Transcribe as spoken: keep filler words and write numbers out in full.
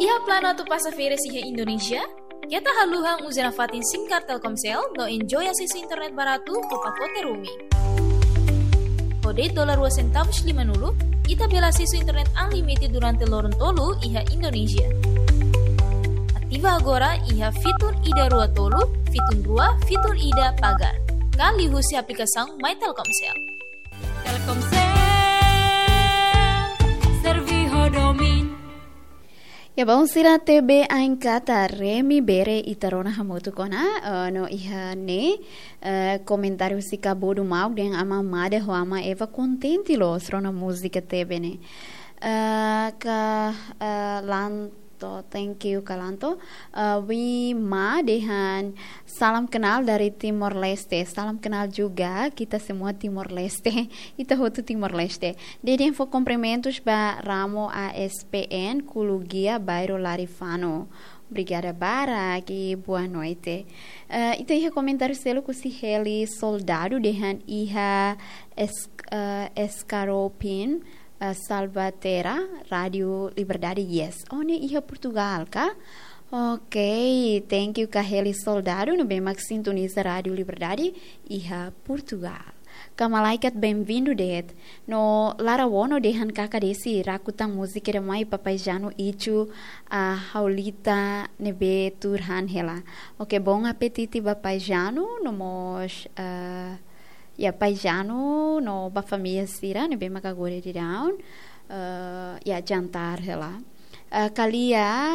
Iha planu atu pasa férias iha Indonézia? Keta haluha uza nafatin SIM card Telkomsel no enjoy asesu internet baratu ho pakote roaming. Ho de'it dolar rua sentavus limanulu, ita bele asesu internet unlimited durante loron tolu iha Indonézia. Ativa agora iha fitun ida rua tolu, fitun rua, fitun ida pagar. Ka liuhusi aplikasaun My Telkomsel. Telkomsel, servi ho domin. Ya, baun sira T B Ain Qatar, remi bere ita rona hamutuk ona, eh, no iha ne'e, eh, komentáriu husi Kabodu Mauk dehan Ama Mada ho Ama Eva kontente loos rona múzika T B ne'e. Eh, ka, eh, Lanto, thank you, Kalanto. Eh, Wi Ma dehan, salam kenal dari Timor Leste. Salam kenal juga, kita semua Timor Leste. Ita hotu Timor Leste. Dehan fó kumprimentus ba Ramo A S P N, Kulu Gia, bairru Larifano. Obrigada barak, boa noite. Eh, ita iha komentáriu seluk husi Heli Soldadu dehan iha es-, eh, Escaropin, eh, Salvatera, Rádio Liberdade, yes. Oh, ne'e iha Portugal ka? Ok, thank you ka Heli Soldadu, ne'ebé mak sintoniza Rádio Liberdade iha Portugal. Ka Malaikat, bem-vindo de'it. No Lara Wono dehan kaka desi raku tan múzika ida mai Papai Janu ichu, ah, Haulita ne'ebé tuur han hela. Ok, bom apetite ba Pai Janu, no mós, ah, ya, Pai Janu no ba família sira ne'ebé mak agora daudaun, eh, ya, jantar hela. Eh, Kalia,